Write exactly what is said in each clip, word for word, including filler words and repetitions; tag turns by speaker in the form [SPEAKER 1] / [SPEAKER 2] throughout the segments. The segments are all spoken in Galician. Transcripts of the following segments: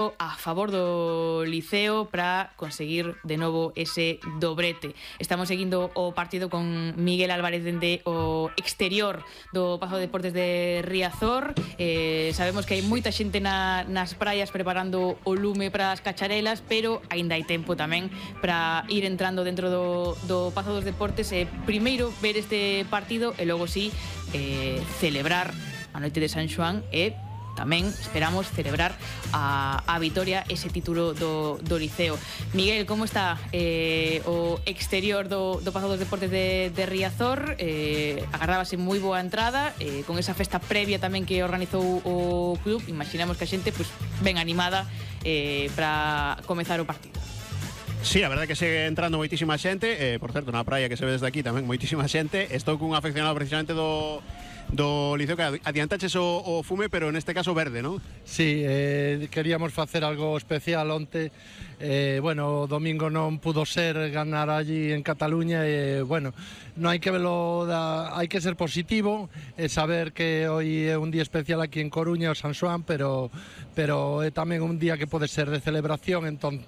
[SPEAKER 1] a favor do Liceo para conseguir de novo ese dobrete. Estamos seguindo o partido con Miguel Álvarez dende o exterior do Pazo de Deportes de Riazor. Eh, sabemos que hai moita xente na, nas praias preparando o lume para as cacharelas, pero aínda hai tempo tamén para ir entrando dentro do, do Pazo dos Deportes e primeiro ver este partido e logo sí eh, celebrar a noite de San Xoán e tamén esperamos celebrar a, a vitoria, ese título do, do Liceo. Miguel, como está eh, o exterior do, do Pazo dos Deportes de, de Riazor? Eh, agarrábase moi boa entrada, eh, con esa festa previa tamén que organizou o club. Imaginamos que a xente pues, ben animada eh, para comezar o partido.
[SPEAKER 2] Sí, a verdade que segue entrando moitísima xente, eh, por certo, na praia que se ve desde aquí tamén moitísima xente. Estou cun afeccionado precisamente do do Liceo que adiantaches o, o fume, pero neste caso verde, non?
[SPEAKER 3] Sí, eh, queríamos facer algo especial onte. Eh, bueno, o domingo non pudo ser ganar allí en Cataluña e, bueno, non hai que velo da, hai que ser positivo e saber que hoy é un día especial aquí en Coruña, o San Xoán, pero pero é tamén un día que pode ser de celebración, entón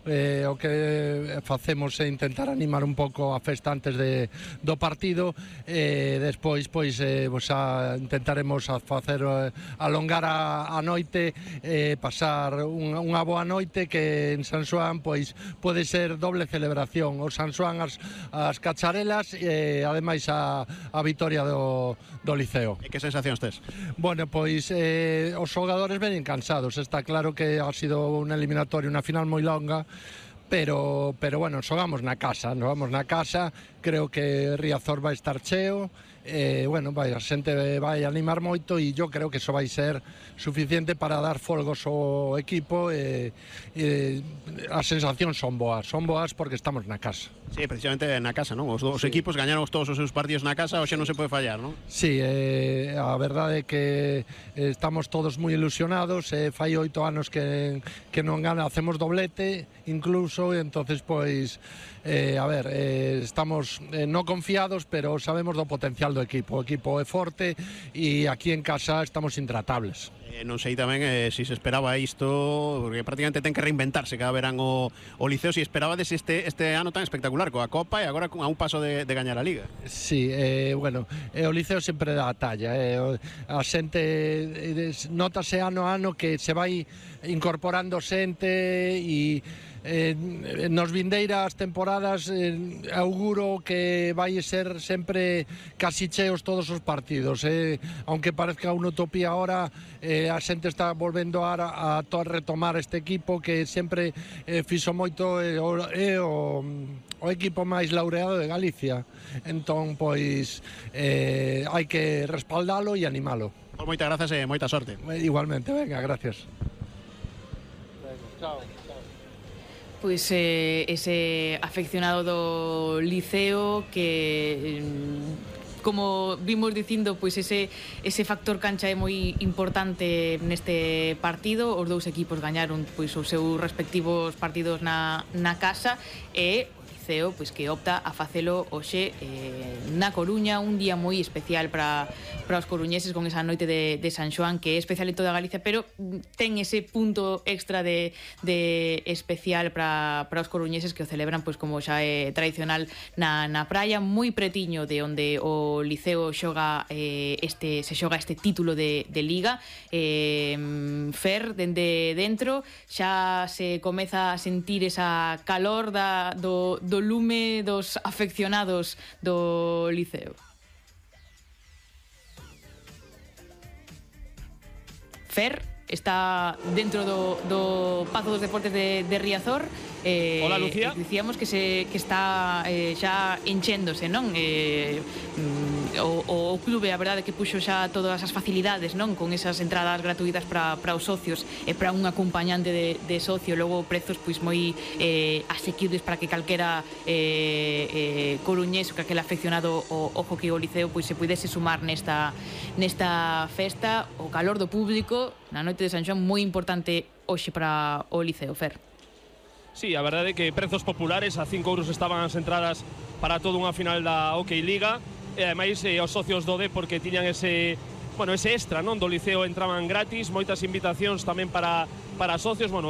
[SPEAKER 3] eh, o que facemos é intentar animar un pouco a festa antes de, do partido e despois pois eh, pues, a, intentaremos a facer eh, alongar a, a noite e eh, pasar un, unha boa noite que en San Xoán pois pode ser doble celebración, o San Xoán as, as cacharelas e ademais a, a vitoria do, do Liceo.
[SPEAKER 2] E que sensacións tes?
[SPEAKER 3] Bueno, pois eh, os xogadores venen cansados, está claro que ha sido unha eliminatoria, unha final moi longa, pero, pero bueno, xogamos na casa, xogamos na casa, creo que Riazor vai estar cheo, eh, bueno, vai, a xente vai animar moito e yo creo que iso vai ser suficiente para dar folgos ao equipo e, e as sensacións son boas, son boas porque estamos na casa.
[SPEAKER 2] Sí, precisamente na casa, non? Os dos sí. equipos gañaron todos os seus partidos na casa, hoxe non se pode fallar, non?
[SPEAKER 3] Sí, eh, a verdade é que estamos todos moi ilusionados, eh, fai oito anos que, que non gana, hacemos doblete incluso, e entonces pois eh, a ver, eh, estamos eh, non confiados, pero sabemos do potencial do equipo, o equipo é forte e aquí en casa estamos intratables.
[SPEAKER 2] Eh, non sei tamén eh, se si se esperaba isto, porque prácticamente ten que reinventarse cada verán o, o Liceo, se si esperabades este, este ano tan espectacular coa Copa e agora a un paso de, de gañar a Liga.
[SPEAKER 3] Sí, eh, bueno, eh, o Liceo sempre dá a talla, eh, a xente eh, notase ano a ano que se vai incorporando xente e Eh, nos vindeiras temporadas eh, auguro que vai ser sempre casi cheos todos os partidos, eh, aunque parezca unha utopía ahora, eh, a xente está volvendo a, a, a retomar este equipo que sempre eh, fixo moito é eh, o, eh, o, o equipo máis laureado de Galicia, entón pois eh, hai que respaldalo e animalo.
[SPEAKER 2] Pues moitas grazas e moita sorte.
[SPEAKER 3] Igualmente, venga, gracias.
[SPEAKER 1] Venga, chao. Pois eh, ese afeccionado do Liceo que, como vimos dicindo, pois ese, ese factor cancha é moi importante neste partido. Os dous equipos gañaron pois os seus respectivos partidos na, na casa e Liceo pois que opta a facelo hoxe eh, na Coruña, un día moi especial para para os coruñeses con esa noite de, de San Xoán que é especial en toda Galicia, pero ten ese punto extra de, de especial para, para os coruñeses que o celebran pois como xa é tradicional na, na praia, moi pretiño de onde o Liceo xoga eh, este, se xoga este título de, de Liga. eh, Fer, dende dentro xa se comeza a sentir esa calor da, do, do lume dos afeccionados do Liceo. Fer está dentro do, do Pazo dos Deportes de, de Riazor. Eh,
[SPEAKER 4] Hola, Lucía.
[SPEAKER 1] Dicíamos que se que está eh, xa enchéndose, non? Eh, o, o clube, a verdade, que puxo xa todas as facilidades, non? Con esas entradas gratuitas para para os socios e para un acompañante de, de socio, logo prezos pois moi eh, asequibles para que calquera eh, eh, coruñés ou calquera afeccionado o, o hockey o Liceo pois se pudese sumar nesta nesta festa. O calor do público na noite de San Xoán moi importante hoxe para o Liceo, Fer.
[SPEAKER 4] Sí, a verdade é que prezos populares, a cinco euros estaban as entradas para toda unha final da Hockey Liga, e ademais eh, os socios do D porque tiñan ese bueno, ese extra, non, do Liceo entraban gratis, moitas invitacións tamén para para socios, bueno,